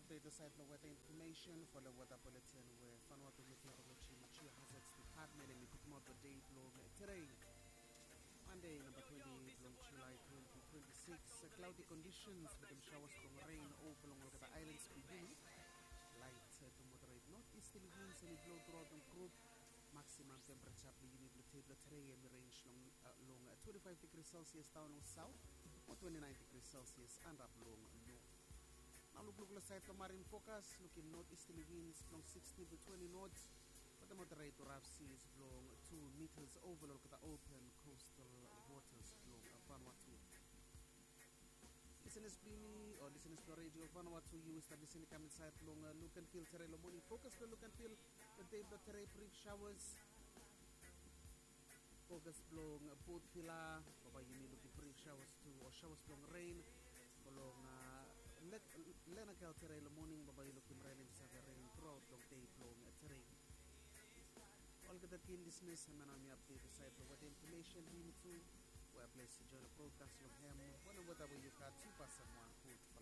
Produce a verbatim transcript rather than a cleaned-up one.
Update saed blong weta infomesen fo long weta buletin we Vanuatu Meteorology and Geohazards Department hemi putumaot long dei blong tede, Mande namba twenti blong Julae twenti twenti sikis. Klaodi kondisens wetem saoas blong ren ova long olgeta aelans blong yumi. Laet tu moderet not isterli wins hemi blou truaot long grup. Maksimam tempereja blong yumi blong dei blong tede hemi rens long twenti faef digri Celsius daon long saot, o twenti naen digri Celsius antap long not. Nao lukluk long saed blong marin fokas, lukim not isterli wins blong sikstin tu twenti nots, wetem moderet tu raf siis blong tu mitas ova long olgeta open kostal wotas blong Vanuatu. Lisenas blong yumi o lisenas blong redio Vanuatu, yu stap lisening kam insaed long luk an fil tede long moning. Fokas blong luk an fil blong dei blong tede, brif saoas. Fokas blong bot vila, bambae yumi lukim brif saoas tu o saoas blong ren long Lenakel tede long moning, bambae yu lukim ren hemi save ren truaot long dei blong tede. Olgeta tin lisenas, hemia nao hemi apdet saed blong weta infomesen blong yumi tu. We ples yu joen long brodkas long hem wanem weta we yu gat, yu pasem wan gud